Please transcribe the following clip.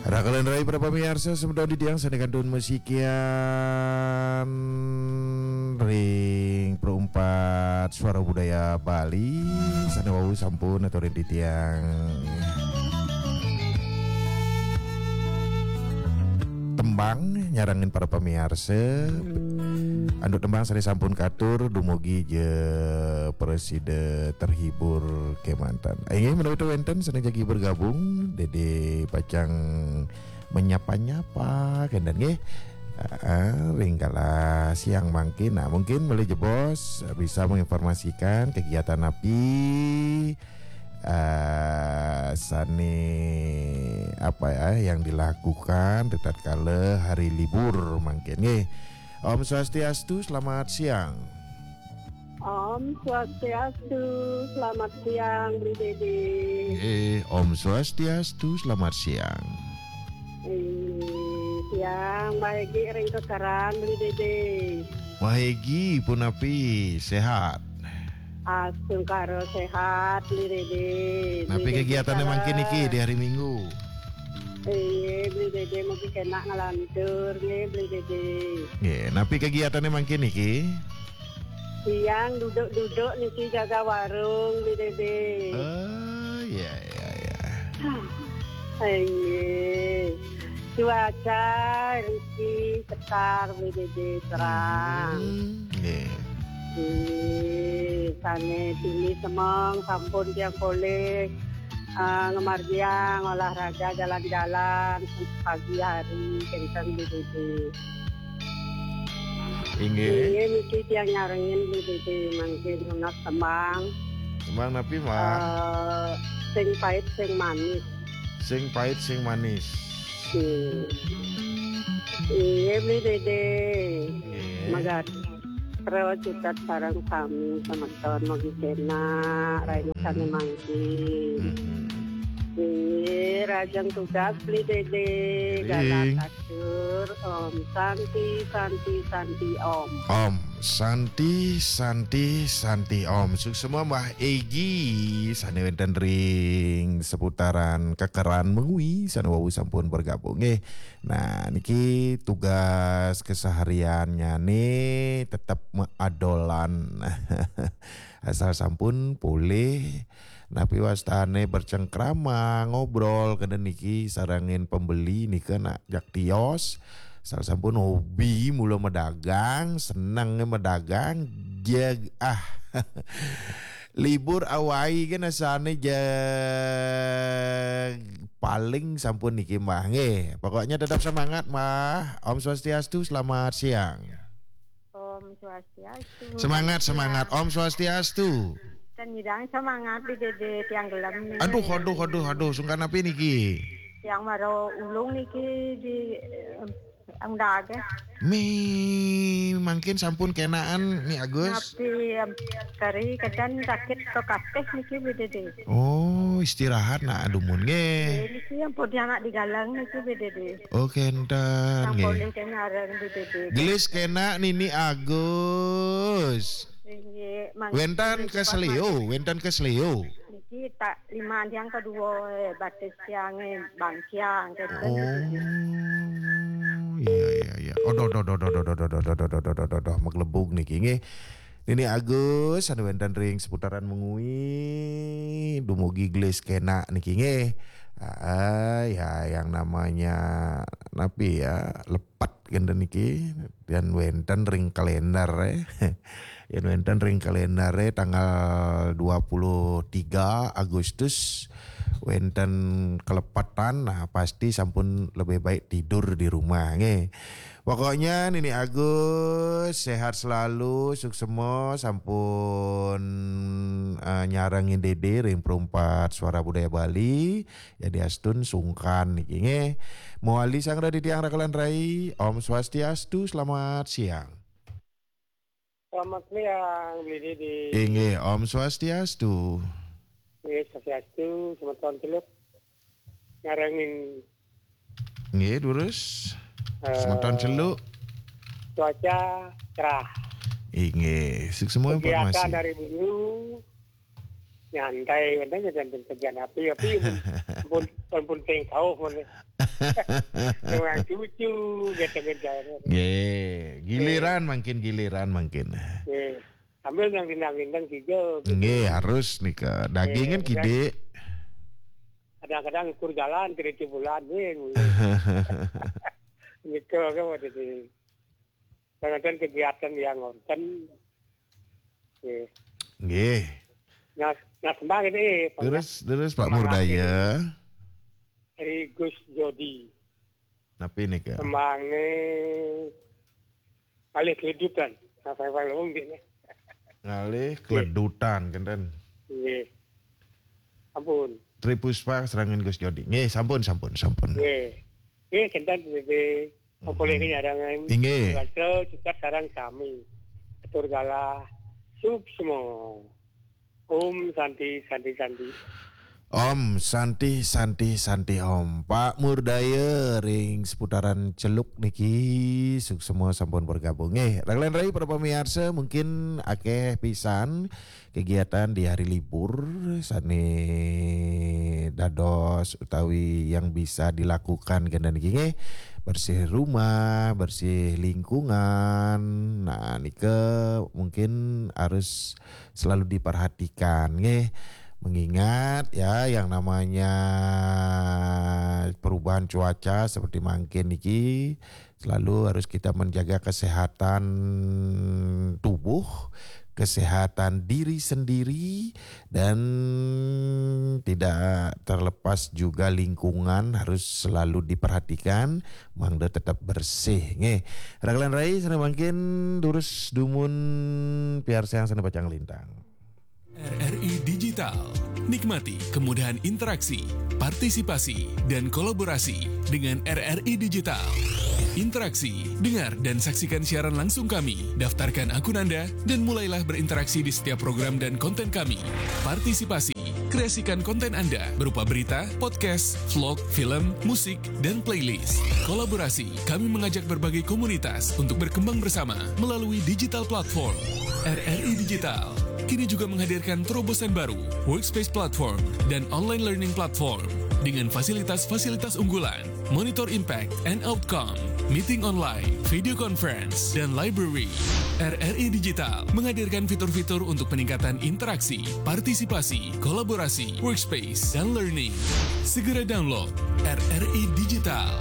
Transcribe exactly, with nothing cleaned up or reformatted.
Raka lan rai para pamiarsa, semeton titiang sane kantun masikian ring Perumpat Suara Budaya Bali, sane wau sampun aturin titiang tembang nyarengin para pamiarsa. Antuk tembang sane sampun katur, dumugi ja prasida terhibur kemanten. Inggih, menawi wenten sane jagi bergabung, Dede pacang menyapa-nyapa kenten nggih. Heeh, ring kala siang mangkin. Nah, mungkin malih jebos bisa menginformasikan kegiatan api, eh, sane apa ya yang dilakukan di tatkala hari libur mangkin nggih. Om Swastiastu, selamat siang. Om Swastiastu, selamat siang, Bli Dede. Eh, Om Swastiastu, selamat siang. Eh, siang, Mbah Egi ring Kekeran, Bli Dede. Mbah Egi, punapi, sehat? Astungkara sehat, Bli Dede. Napi Bli Dede kegiatane mangkin niki di hari Minggu? Iya, Bli Dede, mugi kena ngelantur, nggih, Bli Dede. Nggih, napi kegiatane mangkin niki? Siang duduk-duduk niki jaga warung, Bli Dede. Oh, iya, iya, iya. Iya. Cuaca riki sekar, Bli Dede, terang. Hmm, nggih. Nggih, sane tuni semeng sampun tiang polih, eh, ngamargiang olahraga jalan-jalan pagi hari, kenten, Bli Dede. Inggih. Inggih, niki tiang nyarengin, Bli Dede, mangkin nunas tembang. Tembang napi, Mbah? Eh, sing pait, sing manis. Sing pait, sing manis. Hmm. Inggih, Bli Dede. Inggih. Magatra cutet sareng sami semeton, mugi kena raina sane mangkin. Mm-mm. Inggih, rahajeng tugas, Bli Dede. Ring. Galah Tur, Om Santi, Santi, Santi, Om. Om Santi, Santi, Santi, Om. Suksma Mbah Egi sane wenten ring seputaran Kekeran Mengwi sane wau sampun bergabung nggih. Nah, niki tugas kesehariannyane tetep maadolan. Asal sampun polih, napi wastane bercengkrama, ngobrol kenten niki sarengin pembeli nika nak jak tios. Asal sampun hobi mula madagang, seneng madagang, jeg ah. Libur awai kan asane jeg paling sampun niki, Mbah, nggih. Pokoknya tetap semangat, Mbah. Om Swastiastu, selamat siang. Om Swastiastu. Semangat, semangat. Om Swastiastu. Dan nyidang semangat di Dede tiang gelem niki. Aduh, aduh, aduh, aduh, sungkan napi niki? Tiang mara ulung niki di, eh, undage. Mi mangkin sampun kenaan, Mi Agus? Napi, em, kari kedan sakit to kateh niki, Bli Dede. Oh, istirahat nak dumun nggih. Nggih, niki ampun anak digalang niki, Bli Dede. Oh, kenten nggih. Sampun niki nyareng, Bli Dede. Gelis kena Nini Agus. Nggih, mangkin wenten niki pas kesleo, mangkin. Wenten kesleo. Niki tak lima yang kedua, eh, batis yang, eh, bangkiang, kenten niki. Oh, iya, iya, iya. Aduh, aduh, aduh, aduh, aduh, aduh, aduh, aduh, aduh, aduh, aduh, maglebug niki nggih. Nini Agus anu wenten ring seputaran Mengwi, dumugi gelis kena niki nggih. Ah, ya, yang namanya napi ya, lepet kenten niki, dan wenten ring kalender, eh. Yen wenten ring kalendere tanggal dua puluh tiga Agustus wenten kelepetan, nah, pasti sampun lebih baik tidur di rumah, nggih. Pokoknya Nini Agus sehat selalu, suksema sampun, eh, nyarengin Dede ring Perumpat Suara Budaya Bali. Yadiastun sungkan niki, nggih. Mawali sang radi tiang raka lan rai. Om Swastiastu, selamat siang. Selamat siang, Bli Dede. Inggih, Om Swastiastu. Inggih, Swastiastu, semeton Celuk. Nyarengin. Nggih, durus. Eh, semeton Celuk. Cuaca cerah. Inggih, suksema informasi. Kegiatan dari dulu nyantai, wenten nyantai kerjaan api, api pun, pun, pun penting tahu, pun. Dengan cucu, gitu-gitu. Nggih, giliran mangkin, giliran mangkin. Nggih. Sambil yang rindang-rindang juga. Gitu. Nggih, harus nika. Daging kan Iya, kidik. Kadang-kadang ukur jalan, kira bulan, nggih. Gitu, kan, waktu itu. Kadang-kadang kegiatan yang ngonten. Nggih. Nggih. Nah, nah, sembah ini, Pak, Terus terus Pak Semangat Murdaya. Dari Gus Jodi. Napi nika? Semange alih kehidupan. Nah, saya paling umum gini. Ngalih keledutan kenten. Nggih. Ampun. Tri Puspa serangan Gus Jodi. Nggih, sampun sampun sampun. Nggih. Nggih, kenten, nggih. Apa lagi nyarang? Inggih. Baca juga sarang sami. Atur galah. Suksma. Om Santi, Santi, Santi. Om Santi Santi Santi Om. Pak Murdaya ring seputaran Celuk niki suksma sampun bergabung. Nggih, raglan rai para pamiarsa, mungkin akeh pisan kegiatan di hari libur sane dados utawi yang bisa dilakukan kenten niki, nggih. Bersih rumah, bersih lingkungan. Nah, nika mungkin harus selalu diperhatikan, nggih. Mengingat ya, yang namanya perubahan cuaca seperti mangkin niki, selalu harus kita menjaga kesehatan tubuh, kesehatan diri sendiri, dan tidak terlepas juga lingkungan harus selalu diperhatikan, mangda tetap bersih, nggih. Raglan rai, sane mangkin durus dumun piarsayang sane pacang lintang. R R I Digital. Nikmati kemudahan interaksi, partisipasi, dan kolaborasi dengan R R I Digital. Interaksi, dengar dan saksikan siaran langsung kami. Daftarkan akun Anda dan mulailah berinteraksi di setiap program dan konten kami. Partisipasi, kreasikan konten Anda berupa berita, podcast, vlog, film, musik, dan playlist. Kolaborasi, kami mengajak berbagai komunitas untuk berkembang bersama melalui digital platform. R R I Digital kini juga menghadirkan terobosan baru, Workspace Platform dan Online Learning Platform dengan fasilitas-fasilitas unggulan, monitor impact and outcome, meeting online, video conference, dan library. R R I Digital menghadirkan fitur-fitur untuk peningkatan interaksi, partisipasi, kolaborasi, workspace, dan learning. Segera download R R I Digital